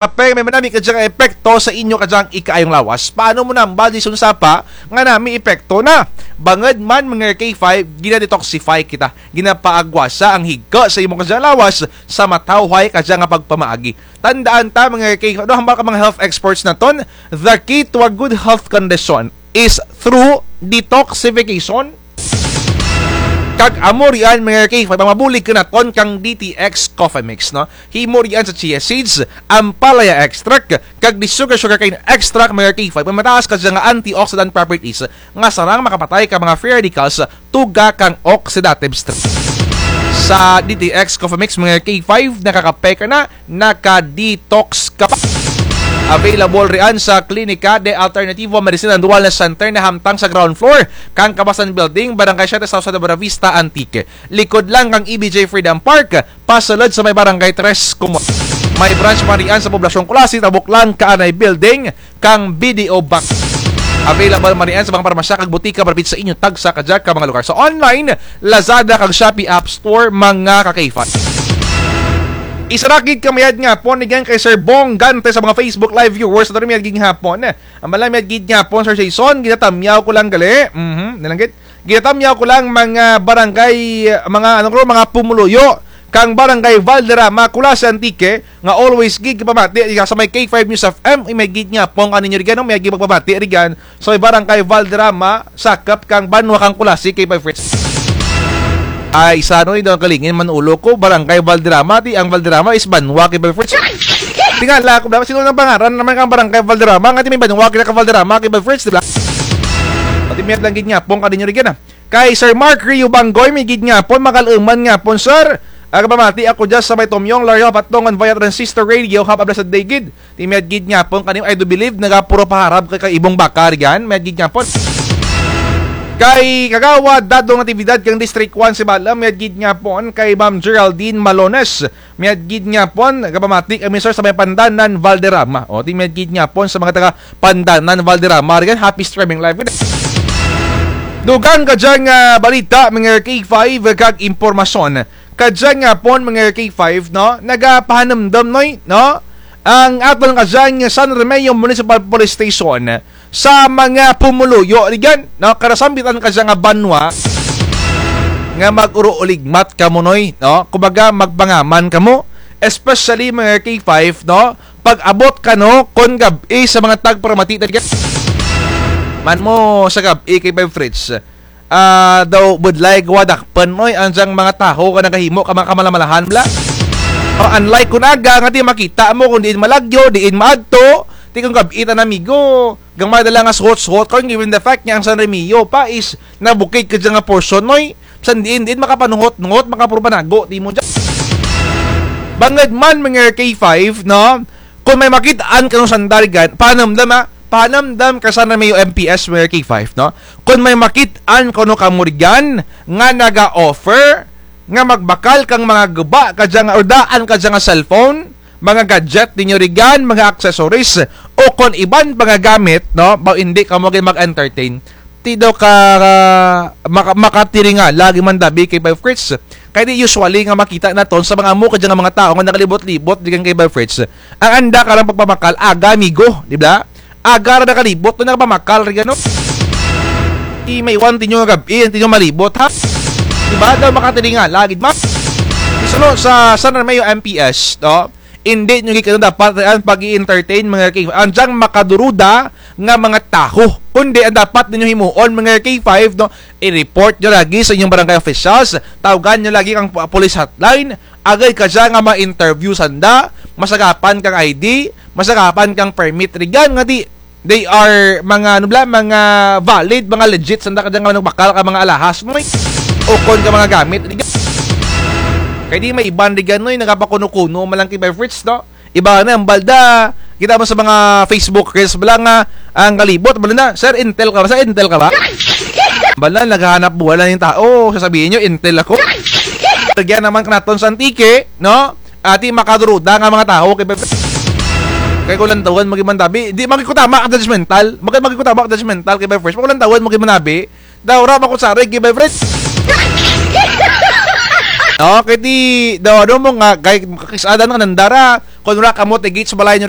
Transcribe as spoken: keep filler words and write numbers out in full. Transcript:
Apay, may manami kadya nga epekto sa inyo kadya nga ikaayong lawas. Paano mo nambal, Jason Sapa, nga nami epekto na? Bangud man, mga K five, gina-detoxify kita. Ginapaagwasa ang higko sa imo kadya nga lawas sa matawhay kadya nga pagpamaagi. Tandaan ta, mga K five, no, hambal ka mga health experts naton, the key to a good health condition is through detoxification. Kag amo riyan, mga K five, ang mabulig kanaton kang D T X Coffee Mix, no? Himo riyan sa chia seeds, ampalaya extract, kag di sugar sugarcane extract, mga K five, may mataas kadya nga antioxidant properties nga sarang makapatay kang mga free radicals, tuga kang oxidative stress. Sa D T X Coffee Mix, mga K five, nakakape ka na, naka-detox ka pa. Available riyan sa Klinika de Alternativo Medicine and Wellness Center na hamtang sa ground floor kang Kabasan Building, Barangay Siete South, sa Buenavista, Antique. Likod lang kang E B J Freedom Park, pasulod sa may Barangay Tres Comunas. May branch man riyan sa Poblacion Culasi, tabok lang kaanay building kang B D O Bank. Available man riyan sa mga parmasya kag butika malapit sa inyo tagsa kadya ka mga lugar. Sa online, Lazada kag Shopee App Store, mga ka-K five. Isara gid ka mayad nga hapon, again kay Sir Bong Gante sa mga Facebook Live viewers. Mayad gid nga hapon. Ambala, mayad gid nga hapon, Sir Jason, ginatamyaw ko lang gali. Mhm, nalanggit. Ginatamyaw ko lang mga barangay, mga, ano ko, mga pumuluyo kang Barangay Valderrama, Culasi, Antique, nga always gid kapamati rigan sa may K five News F M, mayad gid nga hapon kaninyo rigan, no? Mayad gid pagpamati rigan sa may Barangay Valderrama, sakop kang banwa kang Culasi, K five Fritz. Ay, isa, no, daw kalingin man ulo ko, Barangay Valderrama, ti ang Valderrama is banwa, K five Fritz. Tingala ko, dapat sino nang pangaran naman kang Barangay Valderrama, nga ti may banwa kita ka Valderrama, K five Fritz, di ba? Pati mayad lang gid nga hapon kaninyo rigan, ah. Kay Sir Mark Rio Banggoy, mayad gid nga hapon, makaluman nga hapon, sir. Aga pamati ako dyan sa may Tomyong, Lario, Patongon, via Transistor Radio, have a blessed day gid. Ti mayad gid nga hapon, kanim, I do believe, nagapuro paharap kay, kay Ibong Baka, rigan, mayad gid nga hapon. Kay Kagawad Dadong Natividad, kang District one, Sibalom, mayad gid nga hapon, kay Ma'am Geraldine Malones, mayad gid nga hapon, gapamati kami, sir, sa may Pandanan, Valderrama. O, ti mayad gid nga hapon sa mga taga Pandanan, Valderrama, rigan, happy streaming live. Dugang kadya nga balita, mga K five, kag impormasyon. Kadya nga hapon, mga K five, no? Nagapahanumdum, noy, no? Ang aton kadya nga San Remigio Municipal Police Station sa mga pumuluyo, rigan, no? Karasambitan kadya nga banwa nga mag-uruuligmat kamo, noy, no? Kumbaga, magpangaman kamo, especially mga K five, no? Pag-abot kano kon gab-i sa mga tagparamati, rigan. Man mo sa gab-i, K five Fritz. Ah, daw budlay gawa dakpun, oy, ang dyang mga tawo nga nagahimo ka mga kamalamalahan, bala. O, unlike kon aga, nga ti makita mo kon diin malagyo, diin maadto, ti kon gab-i tana, amigo, gamay na lang nga suhot-suhot, karon given the fact nga ang San Remigio pa is nabukid kadya nga portion, oy. Bisan diin, diin makapanuhot-nuhot, makapuro panago, ti mo dyan. Bangud man, mga K five, no? Kon may makit-an kano sanda rigan, pahanumdum, ha? Pahanumdum ka San Remigio M P S, mga K five, no? Kon may makit-an kano kamo rigan nga naga-offer nga magbakal kang mga guba kadya nga, or daan kadya nga cellphone, mga gadget ninyo rigan, mga accessories, o kon iban pa nga gamit, no? Baw indi kamo gid mag-entertain. Ti daw ka, ka, maka-, makatiringala gid man dabi, K five Fritz. Kay ti usually nga makita naton sa mga amo kadya nga mga tawo nga nagalibot-libot rigan, K five Fritz. Ang anda karang pagpamakal, aga, amigo, di ba? Aga ra nagalibot, no, nagapamakal rigan, no? Ti maiwan tinyo nga gab-i, tinyo malibot, ha? Di ba? Daw makatiringala gid man. Isuno sa San Remigio M P S, no? Indi nyo gid kano dapat ang pag-i-entertain, mga K five. Ang dyang makaduruda nga mga tawo. Kundi ang dapat ninyo himuon, mga K five, no? I-report nyo lagi sa inyong barangay officials. Tawagan nyo lagi kang pu-, police hotline. Agud kadya nga ma-interview sanda. Masagapan kang I D. Masagapan kang permit rigan nga ti they are mga, ano bala, mga valid, mga legit, sanda kadya nga nagbakal ka mga alahas mo, eh. O kon ka mga gamit, rigan. Kay ti may iban rigan, no, eh, nagapakuno-kuno man lang, K five Fritz, no? Iba na, ang balda, kita mo sa mga Facebook reels, bala nga, ang kalibot, bala na, "Sir, intel ka ba? Sir, intel ka ba?" Bala, naghahanap buhay lang yung tao, sasabihin nyo, "Intel ako." Lagyan naman kanaton sa Antique, no? Ati makaduruda nga mga tawo, K five Fritz. Kay kon lantawun mo gid man dabi, di man gid ko tama ka judgmental. Bakit man gid ko tama ka judgmental, K five Fritz? Kon lantawun mo gid man dabi, daw ra man ko sarig, K five Fritz. Okay, ti, daw ano mo nga, kay, kakis-adan nga nandara, kon wara kamo ti gate sa balay nyo,